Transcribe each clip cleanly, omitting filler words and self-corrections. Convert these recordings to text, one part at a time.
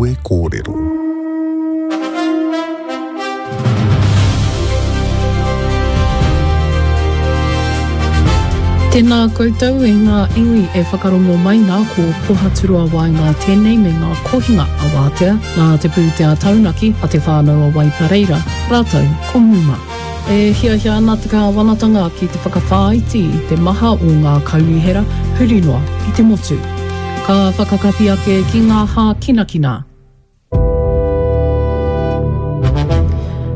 Kawe Kōrero. Tēnā koutou e ngā iwi e whakarongo mai nā ko Pohaturoa Waenga tēnei me ngā kohinga a Wātea, nā te pūtea taunaki a Te Whānau a Waipareira, rātou ko Muma. E hiahia ana te kāwanatanga ki te whakawhāiti i te maha o ngā kaunihera huri noa i te motu. Ka whakakapi ake ki ngā hākinakina.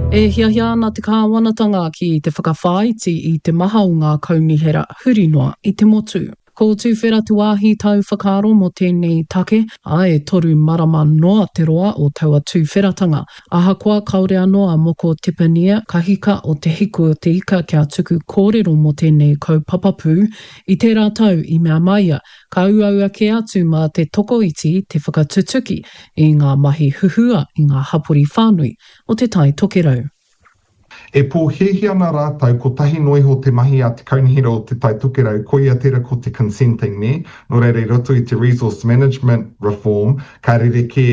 E hiahia ana te kāwanatanga ki te whakawhāiti i te maha o ngā kaunihera huri noa i te motu. Ko Tuwhera te wāhi tau whakaaro mō tēnei take, ā, e toru marama noa te roa o taua tuwheratanga. Ahakoa kāore anō a Moko Tepania Kahika o Te Hiku o te Ika kia tuku kōrero mō tēnei kaupapa pū, i tērā tau i mea mai ia, Ka uaua kē atu mā te tokoiti te whakatutuki i ngā mahi huhua i ngā hapori whānui o Te Tai Tokerau. E pōhēhē ana rātou kotahi noa iho te mahi a te Kaunihera o Te Tai Tokerau, koia tērā ko te consenting, nē? Nō reira i roto i te resource management reform, ka rerekē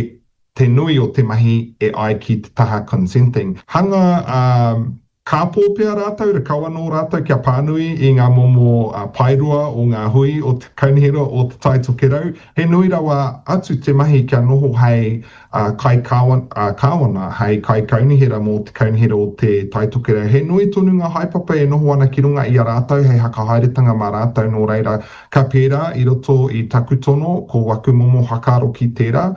te nui o te mahi e ai ki te taha consenting. Hanga Ka pō pea rātou, rakau anō rātou kia pānui i ngā momo paeroa o ngā hui o te Kaunihera o Te Tai Tokerau. He nui rawa atu te mahi kia noho hei kai-kāwana, hei kaikaunihera mō te Kaunihera o Te Tai Tokerau. He nui tonu ngā haepapa e noho ana ki runga i a rātou hei hakahaeretanga mā rātou, nō reira, ka pērā i roto i taku tono, ko waku momo whakaaro ki tērā.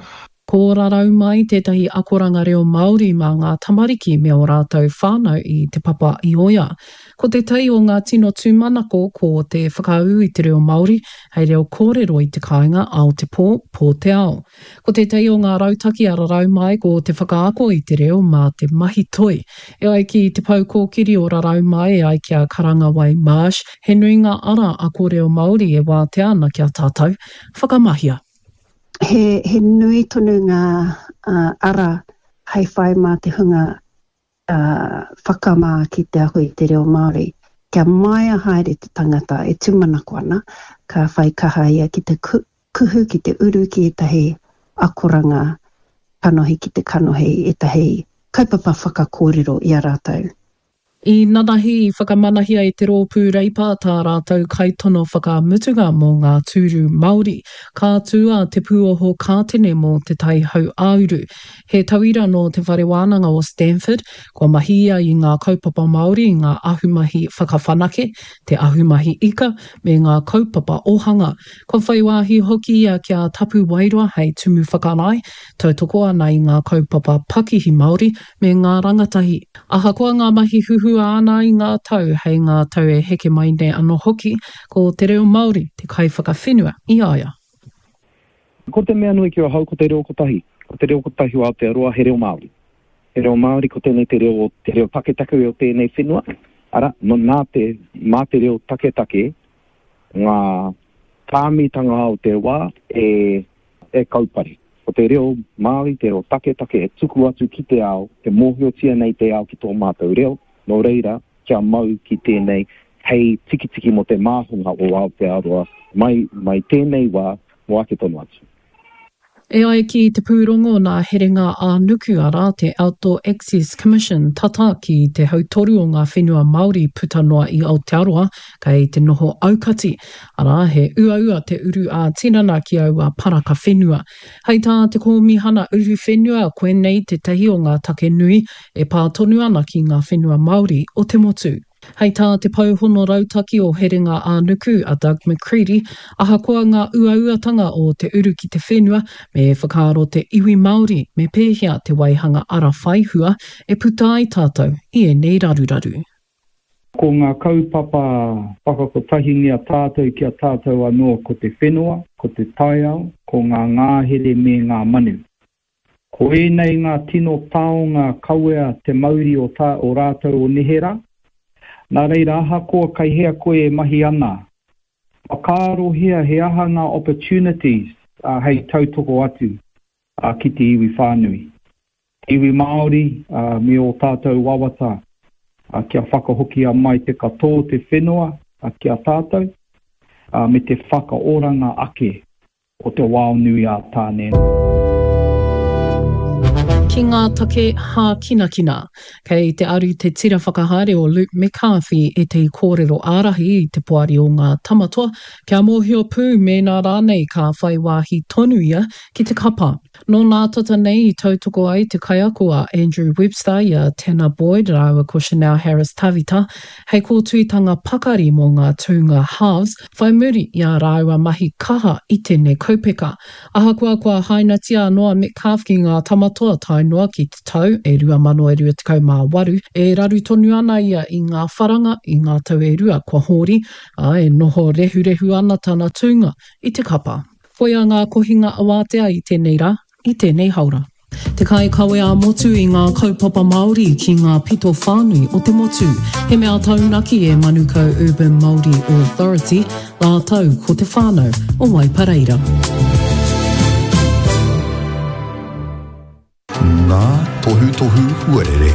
Ko Rarau Mai tētahi akoranga reo Māori mā ngā tamariki me ō rātou whānau i Te Papa i Oea. Ko tētahi o ngā tino tūmanako ko te whakaū i te reo Māori hei reo kōrero i te kāinga ao te pō, pō te ao. Ko tētahi o ngā rautaki a Rarau Mai ko te whakaako i te reo mā te mahi toi. E ai ki te pou kōkiri o Rarau Mai e ai ki a Karangawai Marsh, he nui ngā ara ako reo Māori e wātea ana ki a tātou. Whakamahia! He, he nui tonu ngā uh, ara hei whai mā te hunga uh, whakamā ki te ako i te reo Māori. Kia maia haere te tangata e tūmanako ana, ka whai kaha ia ki te kuhu, ki te uru ki ētahi akoranga kanohi ki te kanohi, ētahi kaupapa whakakōrero i a rātou. I nanahi i whakamanahia e te Rōpū Reipa tā rātou kaitono whakamutunga mō ngā tūru Māori. Ka tū a Te Pūoho Kātene mō Te Tai Hauāuru. He tauira nō Te Whare Wānanga o Stanford, kua mahi ia i ngā kaupapa Māori i ngā ahumahi whakawhanake, te ahumahi ika, me ngā kaupapa ōhanga. Kua whai wāhi hoki ia ki a Tapu Wairoa hei tumu whakarae, tautoko ana i ngā kaupapa pakihi Māori me ngā rangatahi. Ahakoa ngā mahi huhua āna i ngā tau, hei ngā tau e heke mai nei anō hoki, ko te reo Māori te kaiwhakawhenua i a ia. Ko te mea nui ki ahau ko te reo kotahi. Ko te reo kotahi o Aotearoa he reo Māori. He reo Māori ko tēnei te reo, te reo taketake o tēnei whenua, arā, nā te, mā te reo taketake ngā tāmitanga o te wā e, e kaupare. Ko te reo Māori, te reo taketake e tuku atu ki te ao, e mōhiotia nei te ao ki tō mātou reo, nō reira, kia mau ki tēnei hei tikitiki mō te māhunga o Aotearoa mai, mai tēnei wā mō ake tonu atu. E ai ki te pūrongo nā Herenga ā-Nuku, arā, te Outdoor Access Commission, tata ki te hautoru o ngā whenua Māori puta noa i Aotearoa kei te noho aukati, arā, he uaua te uru ā-tinana ki aua paraka whenua. Hei tā te Kōmihana Uruwhenua, koinei tētahi o ngā take nui e pā tonu ana ki ngā whenua Māori o te motu. Hei tā te Pou Hono Rautaki o Herenga ā-Nuku, a Doug McCreadie, ahakoa ngā uauatanga o te uru ki te whenua, me whakaaro te iwi Māori me pēhea te waihanga ara whaihua e puta ai tātou i ēnei raruraru. Ko ngā kaupapa whakakotahingia tātou ki a tātou anō ko te whenua, ko te taiao, ko ngā ngāhere me ngā manu. Ko ēnei ngā tino taonga kawea te mauri o tā o rātou o neherā. Nā reira ahakoa kei hea koe e mahi ana, whakaarohia he aha ngā opportunities hei tautoko atu ki te iwi whānui. Te iwi Māori me ō tātou wawata kia whakahokia mai te katoa o te whenua ki a tātou me te whakaoranga ake o te wao nui a Tāne. Ki ngā take hākinakina. Kei te aru te tira whakahaere o Luke McCarthy ētahi kōrero ārahi i te poari o ngā Tamatoa kia mōhio pū mēnā rānei ka whai wāhi tonu ia ki te kapa. Nō nā tata nei i tautoko ai te kaiako a Andrew Webster i a Tanner Boyd rāua ko Chanel Harris-Tavita hei kōtuitanga pakari mō ngā tūnga halves whai muri i ā rāua mahi kaha i tēnei kaupeka. Ahakoa kua hainatia anō a Metcalfe ki ngā Tamatoa tae noa ki te tau e 2028, e raru tonu ana ia i ngā wharanga i ngā tau e rua kua hōri, ā, e noho rehurehu ana tana tūnga i te kapa. Koia ngā kohinga awātea i tēnei rā, i tēnei haora. Te kaikawe ā-motu i ngā kaupapa Māori ki ngā pito whānui o te motu. He mea taunaki e Manukau Urban Māori Authority rātou ko te whānau o Waipareira. Ngā tohutohu huarere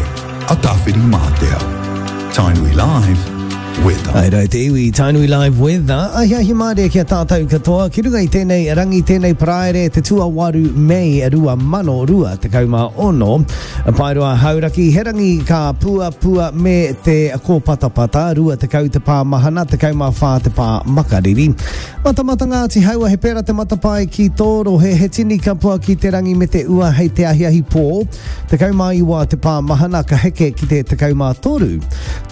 a Tāwhirimātea. Tainui Live, Weather. Haere ai te iwi, Tainui Live Weather. Ahiahi mārie ki a tātou katoa, ki runga i tēnei rangi, tēnei paraire, te tuawaru Mei 2026. Paeroa Hauraki, he rangi ka puapua me te kōpatapata, 20 te pā mahana, 14 te pā makariri. Matamata Ngāti Haua, he pērā te matapae ki tō rohe, he tini kapua ki te rangi me te ua hei te ahiahi pō, 19 te pā mahana ka heke ki te 13.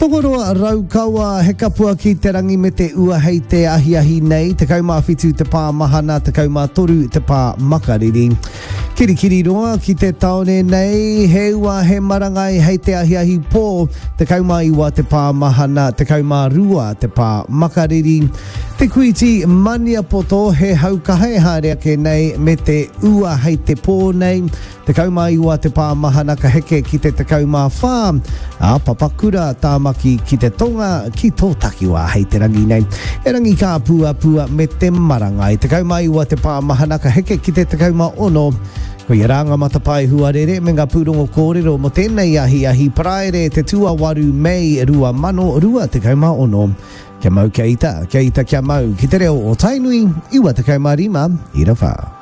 Tokoroa Raukawa, he kapua ki te rangi me te ua hei te ahiahi nei, 17 te pā mahana, 13 te pā makariri. Kirikiriroa ki te taone nei, he ua, he marangai hei te ahiahi pō, 19 te pā mahana, 12 te pā makariri. Te Kuiti Maniapoto, he hau kaha e haere ake nei me te ua hei te pō nei, 19 te pā mahana ka heke ki te 14, ā, Papakura, Tāmaki ki te tonga, ki tō takiwā hei te rangi nei. He rangi kāpuapua me te marangai, 19 te pā mahana ka heke ki te 16, Koia rā ngā matapae huarere me ngā pūrongo kōrero mō tēnei ahiahi Paraire te tuawaru Mei 2026. Kia mau kia ita, kia ita kia mau, ki te reo o Tainui, 95 ira wha.